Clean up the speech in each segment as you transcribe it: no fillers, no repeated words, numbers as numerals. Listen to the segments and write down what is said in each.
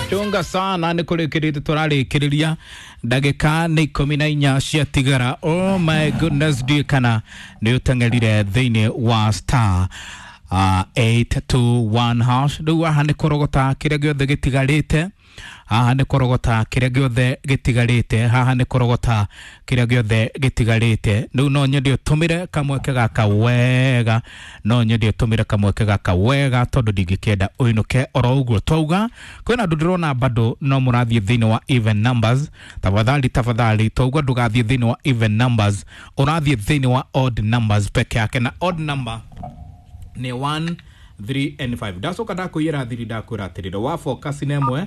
Chunga sana nä kå rä kä rä te tå rarä kä rä ria ndagä nä 14 ciatigara. Oh my goodness, ndiä kana nä å teng'erire thä inä wa star 821 hash. Rä u haha nä kå rogota kä rä a gä othe gä tigarä te, haha nä kå rogota kä rä a gä othe gä tigarä te, haha nä kå rogota kä rä a gä othe gä tigarä te. Rä u no nyende å tå mä re kamweke gaka wega, no nyende å tå mä re kamweke gaka wega tondå ndingä kä enda å inå ke oro å guo. Twauga kwä na andå ndä rona bado no må rathiä thä inä wa even numbers. Tafadhali, tafadhali, twauga ndå gathiä thä inä wa even numbers, å rathiä thä inä wa odd numbers peke yake, na odd number nä 1 3 and 5. Ndacoka ndakwä ra thiri, ndakwä ra atä rä wa focus na ĩmwe,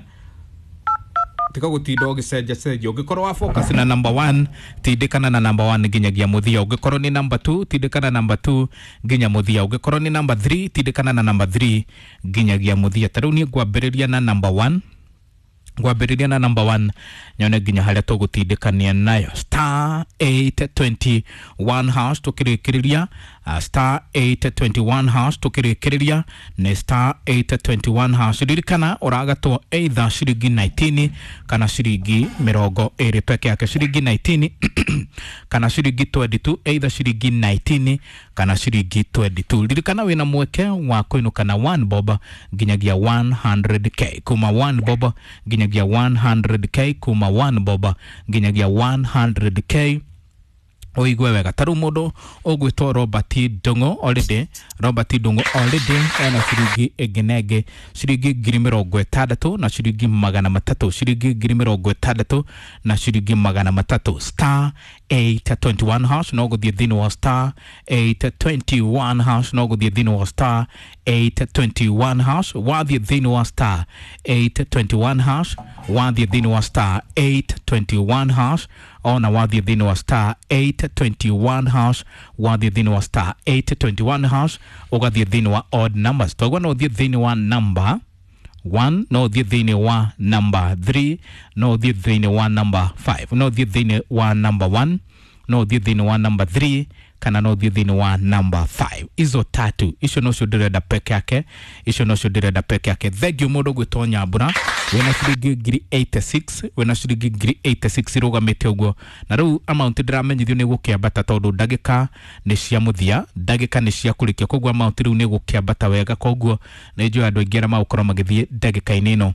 tiga gutinda ũgĩcenjacenjia. Ũngĩkorwo wa focus na number 1, tindĩkana na number 1 nginyagia mũthia. Ũngĩkorwo nĩ number 2, tindĩkana number 2 nginya mũthia. Ũngĩkorwo nĩ number 3, tindĩkana na number 3 nginyagia mũthia. Ta rĩu niĩ ngwambĩrĩria na number 1, ngwambĩrĩria na number 1 nyone nginya harĩa tũgũtindĩkania nayo. Star 821 hash tũkĩrĩkĩrĩria, star 821 hash tũkĩrĩkĩrĩria nĩ star 821 hash. Ririkana ũragatwo either ciringi 19 kana ciringi 20 peke yake, ciringi 19 kana ciringi 22, either ciringi 19 kana ciringi 22. Ririkana wĩna mweke wa kũinũka na 1 bob nginyagia 100K, kuma 1 bob nginyagia 100K, kuma 1 bob nginyagia 100K. Ũigue wega, ta rĩu mũndũ ũgwĩtwo Robert Ndung'u already, Robert Ndung'u already ena ciringi ĩngĩ na ĩngĩ, ciringi 60,000 na ciringi 300, ciringi 60,000 na ciringi 300. Star 821 hash, no gũthiĩ thĩinĩ wa star 821 hash, no gũthiĩ thĩinĩ wa star 821 hash. Wathiĩ thĩinĩ wa star 821 hash, wathiĩ thĩinĩ wa star 821 hash, ona wathiĩ thĩinĩ wa star 821 hash, wathiĩ thĩinĩ wa star 821 hash, ũgathiĩ thĩinĩ wa odd numbers. Toguo no ũthiĩ thĩinĩ wa number 1, no ũthiĩ thĩinĩ wa number 3, no ũthiĩ thĩinĩ wa number 5, no ũthiĩ thĩinĩ wa number 1, no ũthiĩ thĩinĩ wa number 3, kana no ũthiĩ thĩinĩ wa number 5. Izo tatu icio nocio ndĩrenda peke yake, icio nocio ndĩrenda peke yake. Thank you mũndũ gwĩtwo Nyambura wĩna ciringi 86,000, wĩna ciringi 86,000 irũgamĩte ũguo. Na rĩu amount ndĩramenyithio nĩ gũkĩambata tondũ ndagĩka nĩ cia mũthia, ndagĩka nĩ cia kũrĩkia, koguo amount rĩu nĩ gũkĩambata wega. Koguo nĩ njũĩ andũ aingĩ arĩa magũkorwo magĩthiĩ ndagĩka-inĩ ĩno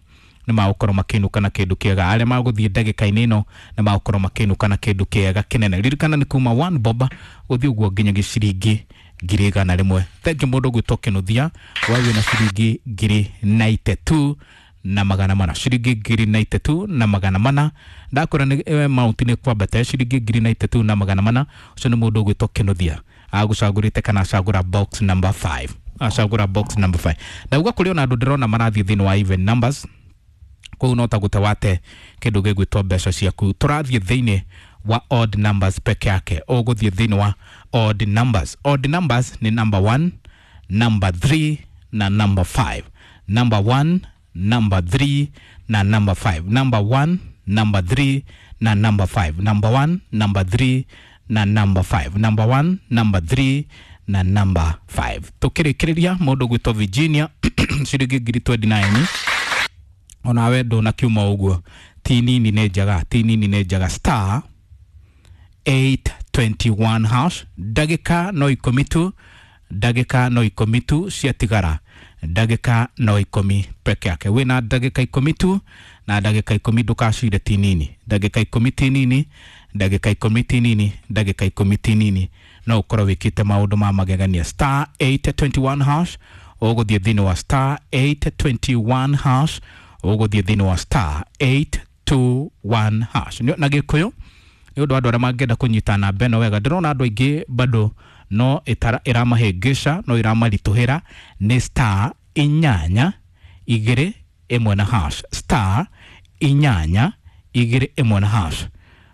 nĩ magũkorwo makĩinũka na kĩndũ kĩega. Arĩa magũthiĩ ndagĩka-inĩ ĩno nĩ magũkorwo makĩinũka na kĩndũ kĩega kĩnene. Ririkana nĩ kuma 1 bob gũthiĩ ũguo nginyagia ciringi 100,000. Thank you mũndũ gwĩtwo Kĩnuthia we wĩna ciringi 94,400, ciringi 94,400. Ndakwĩra nĩ amount nĩ kwambata, ciringi 94,400. Ũcio nĩ mũndũ ũgwĩtwo Kĩnuthia agũcagũrĩte kana acagũra box number 5, acagũra box number 5. Ndauga kũrĩ ona andũ ndĩrona marathiĩ thĩinĩ wa even numbers, koguo no ta gũte wate kĩndũ gĩgwĩtwo mbeca ciaku. Tũrathiĩ thĩinĩ wa odd numbers peke yake, ũgũthiĩ thĩinĩ wa odd numbers. Odd numbers nĩ number 1, number 3 na number 5. Number 1, number 3 na number 5. Number 1, number 3 na number 5. Number 1, number 3 na number 5. Number 1, number 3 na number 5. Tũkĩrĩkĩrĩria mũndũ gwĩtwo Virginia ciringi 29,000, onawe ndũnakiuma ũguo, ti nini nĩ njega, ti nini nĩ njega. Star 821 hash, ndagĩka no 10 tu, ndagĩka no 10 tu ciatigara, ndagĩka no 10 peke yake. Wĩna ndagĩka 10 tu, na ndagĩka 10 ndũkacire, ti nini, ndagĩka 10 ti nini, ndagĩka 10 ti nini, ndagĩka 10 ti nini, no ũkorwo wĩkĩte maũndũ ma magegania. Star 821 hash, ũgũthiĩ thĩinĩ wa star 821 hash, ũgũthiĩ thĩinĩ wa star 821 hash. Na gĩkũyũ nĩ ũndũ wa andũ arĩa mangĩenda kũnyita namba ĩno wega, ndĩrona andũ aingĩ bado no ĩramahĩngĩca, no ĩramaritũhĩra. Nĩ star 821 na hash, star 821 na hash.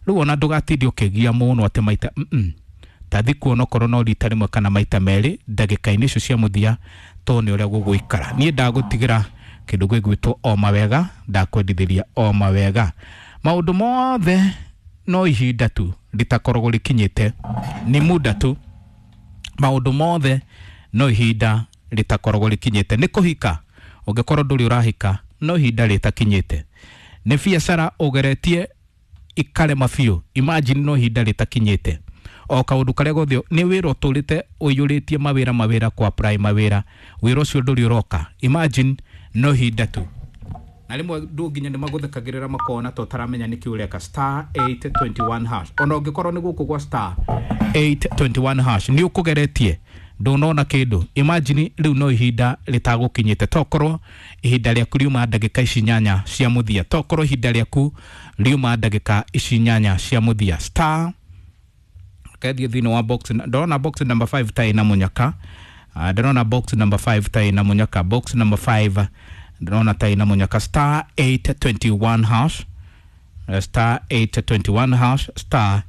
Rĩu ona ndũgatinde ũkĩgia mũno atĩ maita tathi kuona okorwo no rita rĩmwe kana maita merĩ ndagĩka-inĩ icio cia mũthia, tondũ nĩ ũrĩa gũgũikara. Niĩ ndagũtigĩra kĩndũ gĩgwĩtwo o mawega, ndakwendithĩria o mawega. Maũndũ mothe no ihinda tu rĩtakoragwo rĩkinyĩte, nĩ muda tu. Maũndũ mothe no ihinda rĩtakoragwo rĩkinyĩte. Nĩ kũhika, ũngĩkorwo ndũrĩ ũrahika. no ihinda rĩtakinyĩte. Nĩ biacara ũgeretie ikarema biũ, imagine no ihinda rĩtakinyĩte. O kaũndũ karĩa gothe nĩ wĩra ũtũrĩte ũiyũrĩtie mawĩra mawĩra kwa apply mawĩra, wĩra ũcio ndũrĩ ũroka, imagine no ihinda tu. Na rĩmwe ndũ nginya nĩ magũthekagĩrĩra makona ta ũtaramenya nĩkĩ ũreka. Star 821 hash, ona ũngĩkorwo nĩ gũkũ gwa star 821 hash nĩ ũkũgeretie ndũnona kĩndũ, imagine rĩu no ihinda rĩtagũkinyĩte. Tokorwo ihinda rĩaku riuma ndagĩka ici 8 cia mũthia, tokorwo ihinda rĩaku riuma ndagĩka ici 8 cia mũthia. Star kethiĩ thĩinĩ wa box, ndĩrona box number 5 ta ĩna mũnyaka. Ndĩrona box number 5 ta ĩna mũnyaka, box number 5 ndĩrona ta ĩna mũnyaka. Star 821 hash, star 821 hash, star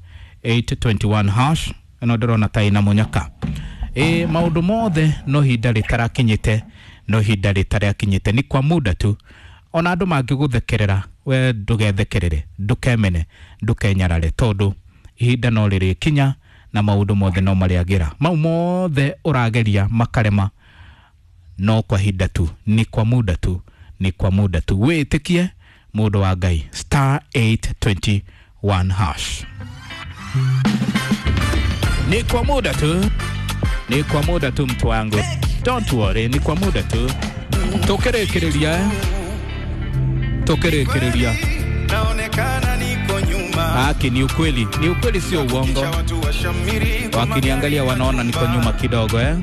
821 hash, ĩno ndĩrona ta ĩna mũnyaka. Ĩ maũndũ mothe no ihinda rĩtarakinyĩte, no ihinda rĩtarakinyĩte, ni kwa muda tu. Ona andũ mangĩgũthekerera, we ndũgethekerere, ndũkemene, ndũkenyarare, tondũ ihinda no rĩrĩkinya na maũndũ mothe no marĩagĩra. Mau mothe ũrageria makarema, no kwa ihinda tu, ni kwa muda tu, ni kwa muda tu. Wĩtĩkie mũndũ wa Ngai. Star 821 hash, ni kwa muda tu, ni kwa muda tu, mtu wangu, don't worry, ni kwa muda tu. Tũkĩrĩkĩrĩria, tũkĩrĩkĩrĩria, naonekana niko nyuma. Haki ni ukweli, ni ukweli, sio uongo. Kisha watu washamiri kwa Wakiniangalia magari wanaona niko majumba. nyuma kidogo eh?